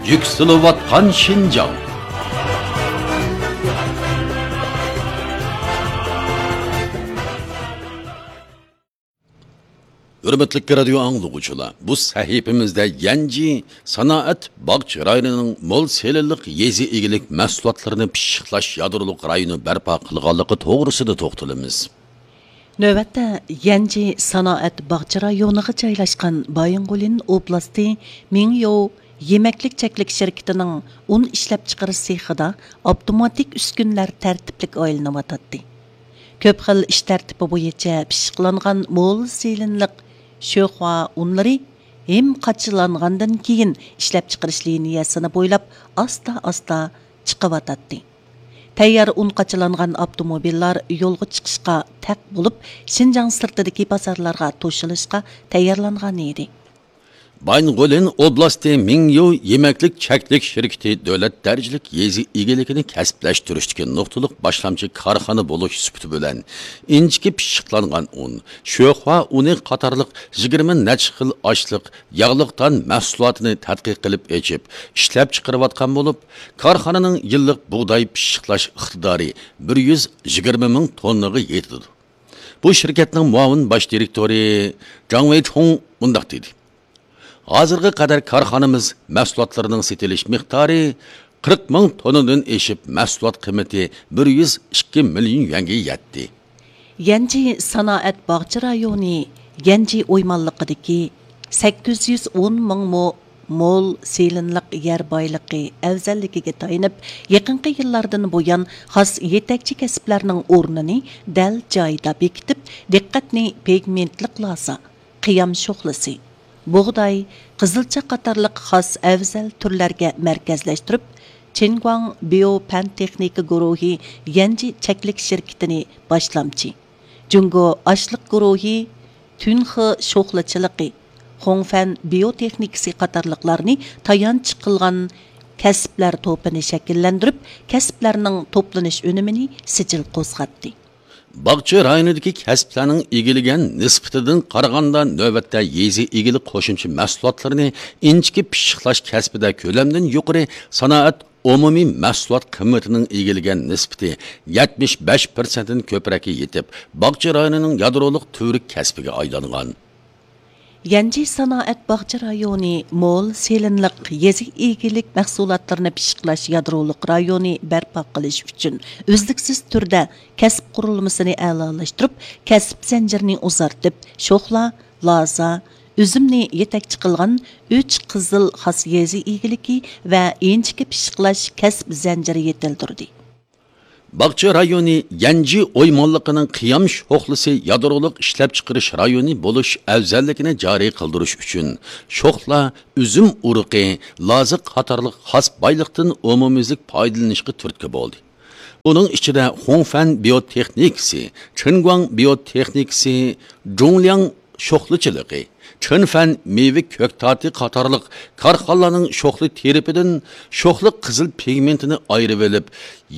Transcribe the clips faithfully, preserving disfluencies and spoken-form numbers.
يۈكسىلىۋاتقان شىنجاڭ. ھۆرمەتلىك رادىيو ئاڭلىغۇچىلار، بۇ سەھىپىمىزدە يەنجى سانائەت باغچە رايونىنىڭ مول سېلىنلىق يېزا ئىگىلىك مەھسۇلاتلىرىنى پىششىقلاش يادرولۇق رايونى بەرپا قىلغانلىقى توغرىسىدا توختىلىمىز. نۆۋەتتە يەنجى سانائەت باغچە رايونىغا جايلاشقان بايىنغولىن ئوبلاستى مىڭيو يېمەكلىك چەكلىك شىركىتىنىڭ ئۇن ئىشلەپچىقىرىش سېخىدا ئاپتوماتىك ئۈسكۈنىلەر تەرتىپلىك ئايلىنىۋاتاتتى. كۆپ خىل ئىش تەرتىپى بويىچە پىششىقلانغان مول سېلىنلىق شۆخۇا ئۇنلىرى ھىم قاچىلانغاندىن كېيىن ئىشلەپچىقىرىش لىنىيەسىنى بويلاپ ئاستا-ئاستا چىقىۋاتاتتى. تەييار ئۇن قاچىلانغان ئاپتوموبىللار يولغا چىقىشقا تەق بولۇپ، شىنجاڭ سىرتىدىكى بازارلارغا توشۇلۇشقا تەييارلانغان ئىدى. بايىنغولىن ئوبلاستى مىڭيو يېمەكلىك چەكلىك شىركىتى دۆلەت دەرىجىلىك يېزا ئىگىلىكىنى كەسىپلەشتۈرۈشتىكى نۇقتىلىق باشلامچى كارخانا بولۇش سۈپىتى بىلەن ئىنچىكە پىششىقلانغان ئۇن، شۆخۇا ئۇنى قاتارلىق يىگىرمە نەچچە خىل ئاشلىق، ياغلىق تان مەھسۇلاتىنى تەتقىق قىلىپ ئېچىپ، ئىشلەپچىقىرىۋاتقان بولۇپ، كارخانىنىڭ يىللىق بۇغداي پىششىقلاش ئىقتىدارى بىر يۈز يىگىرمە مىڭ توننىغا يېتىدۇ. بۇ شىركەتنىڭ مۇئاۋىن باش دىرېكتورى جاڭ ۋېيچۇڭ مۇنداق دېدى: ھازىرغا قەدەر كارخانىمىز مەھسۇلاتلىرىنىڭ سېتىلىش مىقدارى قىرىق مىڭ توننىدىن ئېشىپ، مەھسۇلات قىممىتى بىر يۈز ئىككى مىليون يۈەنگە يەتتى. يەنجى سانائەت باغچە رايونى يەنجى ئويمانلىقىدىكى سەككىز يۈز ئون مىڭ مو مول سېلىنلىق يەر بايلىقى ئەۋزەللىكىگە تايىنىپ، يېقىنقى يىللاردىن بۇيان خاس يېتەكچى كەسىپلەرنىڭ ئورنىنى دەل جايىدا بېكىتىپ، دىققەتنى پىگمېنتلىق لازا، قىيام شوخلىسى، بۇغداي، قىزىلچا قاتارلىق خاس ئەۋزەل تۈرلەرگە مەركەزلەشتۈرۈپ، چىنگۇاڭ بىيو پەن تېخنىكا گۇرۇھى يەنجى چەكلىك شىركىتىنى باشلامچى، جۇڭگو ئاشلىق گۇرۇھى تۈنخې شوخلىچىلىقى، خۇڭفەن بىيو تېخنىكىسى قاتارلىقلارنى تايانچ قىلغان كەسىپلەر توپىنى شەكىللەندۈرۈپ، كەسىپلەرنىڭ توپلىنىش ئۈنۈمىنى سىجىل قوزغاتتى. باغچە رايونىدىكى كەسىپلەرنىڭ ئىگىلىگەن نىسبىتىدىن قارىغاندا، نۆۋەتتە يېزا ئىگىلىك قوشۇمچە مەھسۇلاتلىرىنى ئىنچىكە پىششىقلاش كەسپىدە كۆلەمدىن يۇقىرى سانائەت ئومۇمىي مەھسۇلات قىممىتىنىڭ ئىگىلىگەن نىسبىتى يەتمىش بەش پىرسەنتتىن كۆپرەككە يېتىپ، باغچە رايونىنىڭ يادرولۇق تۈۋرۈك كەسپىگە ئايلانغان. يەنجى سانائەت باغچە رايونى مول سېلىنلىق يېزا ئىگىلىك مەھسۇلاتلىرىنى پىششىقلاش يادرولۇق رايونى بەرپا قىلىش ئۈچۈن ئۈزلۈكسىز تۈردە كەسىپ قۇرۇلمىسىنى ئەلالاشتۇرۇپ، كەسىپ زەنجىرىنى ئۇزارتىپ، شوخلا، لازا، ئۈزۈمنى يېتەكچى قىلغان ئۈچ قىزىل خاس يېزا ئىگىلىكى ۋە ئىنچىكە پىششىقلاش كەسىپ زەنجىرى يېتىلدۈردى. باغچە رايونى يەنجى ئويمانلىقىنىڭ قىيام شوخلىسى يادرولۇق ئىشلەپچىقىرىش رايونى بولۇش ئەۋزەللىكىنى جارى قىلدۇرۇش ئۈچۈن، شوخلا، ئۈزۈم ئۇرۇقى، لازا قاتارلىق خاس بايلىقتىن ئومۇميۈزلۈك پايدىلىنىشقا تۈرتكە بولدى. بۇنىڭ ئىچىدە خۇڭفەن بىيوتېخنىكىسى، چىنگۇاڭ بىيوتېخنىكىسى، جۇڭلياڭ شوخلىچىلىقى، چىنفەن مېۋە كۆكتاتى قاتارلىق كارخانىلارنىڭ شوخلا تىرىپىدىن شوخلا قىزىل پىگمېنتىنى ئايرىۋېلىپ،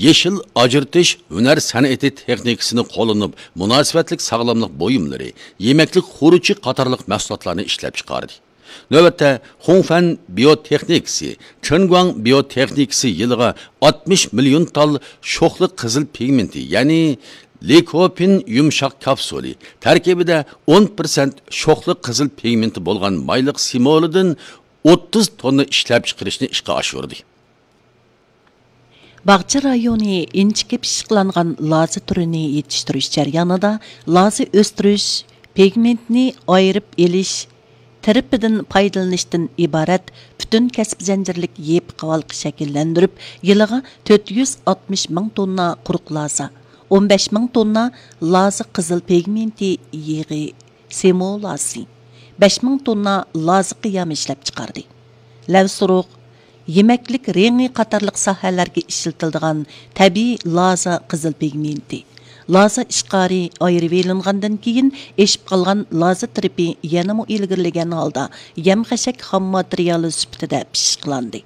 يېشىل ئاجرىتىش ھۈنەر سەنئىتى تېخنىكىسىنى قوللىنىپ، مۇناسىۋەتلىك ساغلاملىق بۇيۇملىرى، يېمەكلىك خۇرۇچى قاتارلىق مەھسۇلاتلارنى ئىشلەپچىقاردى. نۆۋەتتە خۇڭفەن بىيوتېخنىكىسى، چىنگۇاڭ بىيوتېخنىكىسى يىلىغا ئاتمىش مىليون تال شوخلا قىزىل پىگمېنتى، يەنى لىكوپىن يۇمشاق كاپسۇلى، تەركىبىدە ئون پىرسەنت شوخلا قىزىل پىگمېنتى بولغان مايلىق سىمولىدىن ئوتتۇز توننا ئىشلەپچىقىرىشنى ئىشقا ئاشۇردى. باغچە رايونى ئىنچىكە پىششىقلانغان لازا تۈرىنى يېتىشتۈرۈش جەريانىدا لازا ئۆستۈرۈش، پىگمېنتنى ئايرىپ ئېلىش، تىرىپىدىن پايدىلىنىشتىن ئىبارەت پۈتۈن كەسىپ زەنجىرلىك يېپىق ھالقا شەكىللەندۈرۈپ، يىلىغا تۆت يۈز ئاتمىش مىڭ توننا قۇرۇق لازا، ئون بەش مىڭ توننا لازا قىزىل پىگمېنتى يېغى سېمولاسى، بەش مىڭ توننا لازا قىيامى ئىشلەپچىقاردى. لەۋسۇرۇخ، يېمەكلىك رېڭى قاتارلىق ساھەلەرگە ئىشلىتىلىدىغان تەبىئىي لازا قىزىل پىگمېنتى، لازا ئىشقارى ئايرىۋېلىنغاندىن كېيىن ئېشىپ قالغان لازا تىرىپى يەنىمۇ ئىلگىرىلىگەن ھالدا يەم-خەشەك خام ماتېرىيالى سۈپىتىدە پىششىقلاندى.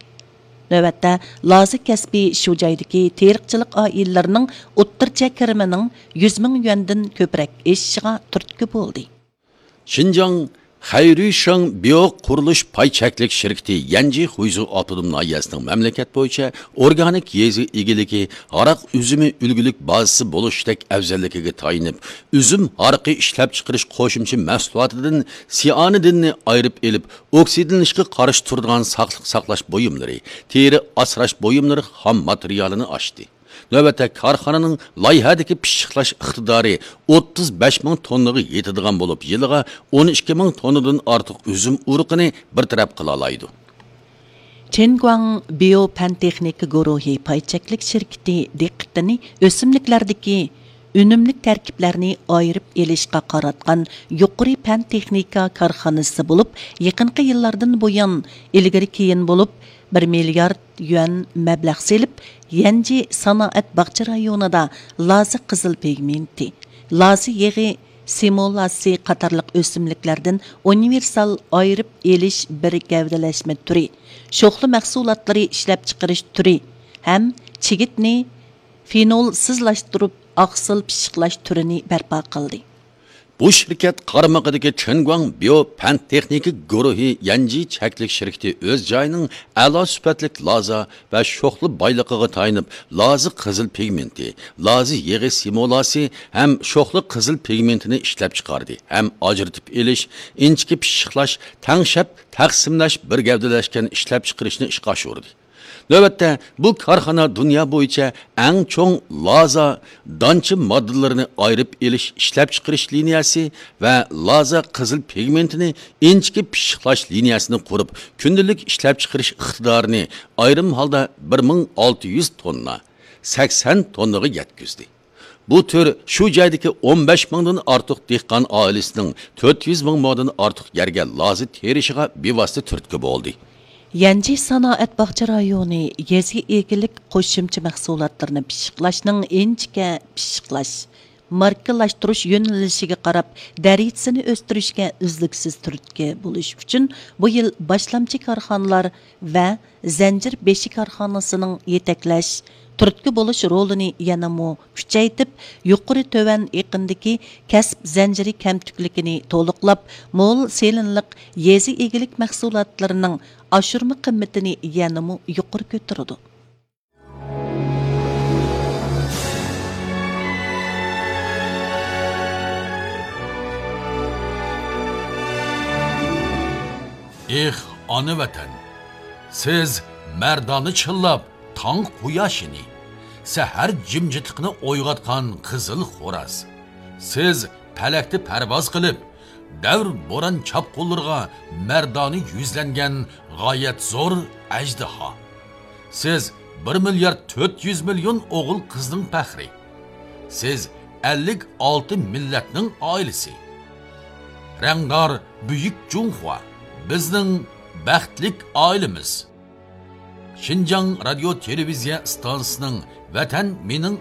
نۆۋەتتە لازا كەسپى شۇ جايدىكى تېرىقچىلىق ئائىلىلىرىنىڭ ئوتتۇرىچە كىرىمىنىڭ يۈز مىڭ يۈەندىن كۆپرەك ئېشىشىغا تۈرتكە بولدى. شىنجاڭ خەيرۈشاڭ بىيو قۇرۇلۇش پاي چەكلىك شىركىتى يەنجى خۇيزۇ ئاپتونوم ناھىيەسىنىڭ مەملىكەت بويىچە ئورگانىك يېزا ئىگىلىكى، ھاراق ئۈزۈمى ئۈلگىلىك بازىسى بولۇشتەك ئەۋزەللىكىگە تايىنىپ، ئۈزۈم ھارىقى ئىشلەپچىقىرىش قوشۇمچە مەھسۇلاتىدىن سىئانىدىننى ئايرىپ ئېلىپ، ئوكسىدلىنىشقا قارشى تۇرىدىغان ساقلىق ساقلاش بۇيۇملىرى، تېرە ئاسراش بۇيۇملىرى خام ماتېرىيالىنى ئاچتى. نۆۋەتتە كارخانىنىڭ لايىھەدىكى پىششىقلاش ئىقتىدارى ئوتتۇز بەش مىڭ توننىغا يېتىدىغان بولۇپ، يىلىغا ئون ئىككى مىڭ توننىدىن ئارتۇق ئۈزۈم ئۇرۇقىنى بىر تەرەپ قىلالايدۇ. چېنگۇاڭ بىيو پەن تېخنىكا گۇرۇھى پاي چەكلىك شىركىتى دىققىتىنى ئۆسۈملۈكلەردىكى ئۈنۈملۈك تەركىبلەرنى ئايرىپ ئېلىشقا قاراتقان يۇقىرى پەن تېخنىكا كارخانىسى بولۇپ، يېقىنقى يىللاردىن بۇيان ئىلگىرى كېيىن بولۇپ، بىر مىليارد يۈەن مەبلەغ سېلىپ، يەنجى سانائەت باغچە رايونىدا لازا قىزىل پىگمېنتى، لازا يېغى سىمولاسى قاتارلىق ئۆسۈملۈكلەردىن ئۇنىۋېرسال ئايرىپ ئېلىش بىر گەۋدىلەشمە تۈرى، شوخلا مەھسۇلاتلىرى ئىشلەپچىقىرىش تۈرى ھەم چىگىتنى فېنولسىزلاشتۇرۇپ ئاقسىل پىششىقلاش تۈرىنى بەرپا قىلدى. بۇ شىركەت قارمىقىدىكى چېنگۇاڭ بىيو پەن تېخنىكا گۇرۇھى يەنجى چەكلىك شىركىتى ئۆز جايىنىڭ ئەلا سۈپەتلىك لازا ۋە شوخلا بايلىقىغا تايىنىپ، لازا قىزىل پىگمېنتى، لازا يېغى سىمولاسى ھەم شوخلا قىزىل پىگمېنتىنى ئىشلەپچىقاردى ھەم ئاجرىتىپ ئېلىش، ئىنچىكە پىششىقلاش، تەڭشەپ تەقسىملەش، بىر گەۋدىلەشكەن ئىشلەپچىقىرىشنى ئىشقا ئاشۇردى. نۆۋەتتە بۇ كارخانا دۇنيا بويىچە ئەڭ چوڭ لازا دانچە ماددىلىرىنى ئايرىپ ئېلىش ئىشلەپچىقىرىش لىنىيەسى ۋە لازا قىزىل پىگمېنتىنى ئىنچىكە پىششىقلاش لىنىيەسىنى قۇرۇپ، كۈندىلىك ئىشلەپچىقىرىش ئىقتىدارىنى ئايرىم ھالدا بىر مىڭ ئالتە يۈز توننا، سەكسەن توننىغا يەتكۈزدى. بۇ تۈر شۇ جايدىكى ئون بەش مىڭدىن ئارتۇق دېھقان ئائىلىسىنىڭ تۆت يۈز مىڭ مودىن ئارتۇق يەرگە لازا تېرىشىغا بىۋاسىتە تۈرتكە بولدى. يەنجى سانائەت باغچە رايونى يېزا ئىگىلىك قوشۇمچە مەھسۇلاتلىرىنى پىششىقلاشنىڭ ئىنچىكە پىششىقلاش، ماركىلاشتۇرۇش يۆنىلىشىگە قاراپ دەرىجىسىنى ئۆستۈرۈشكە ئۈزلۈكسىز تۈرتكە بولۇش ئۈچۈن بۇ يىل باشلامچى كارخانىلار ۋە زەنجىر بېشى كارخانىسىنىڭ يېتەكلەش، تۈرتكە بولۇش رولىنى يەنىمۇ كۈچەيتىپ، يۇقىرى تۆۋەن ئېقىندىكى كەسىپ زەنجىرى كەمتۈكلۈكىنى تولۇقلاپ، مول سېلىنلىق يېزا ئىگىلىك مەھسۇلاتلىرىنىڭ ئاشۇرما قىممىتىنى يەنىمۇ يۇقىرى كۆتۈرىدۇ. ئېھ، ئانا ۋەتەن! سىز مەردانە چىللاپ تاڭ قۇياشىنى، سەھەر جىمجىتلىقىنى ئويغاتقان قىزىل خوراز. سىز پەلەكتە پەرۋاز قىلىپ، دەۋر بوران چاپقۇنلىرىغا مەردانە يۈزلەنگەن غايەت زور ئەجدىھا. سىز بىر مىليارد تۆت يۈز مىليون ئوغۇل قىزنىڭ پەخرى. سىز ئەللىك ئالتە مىللەتنىڭ ئائىلىسى. رەڭدار بۈيۈك جۇڭخۇا، بىزنىڭ بەختلىك ئائىلىمىز. شىنجاڭ رادىيو تېلېۋىزىيە ئىستانسىسىنىڭ ۋەتەن مېنىڭ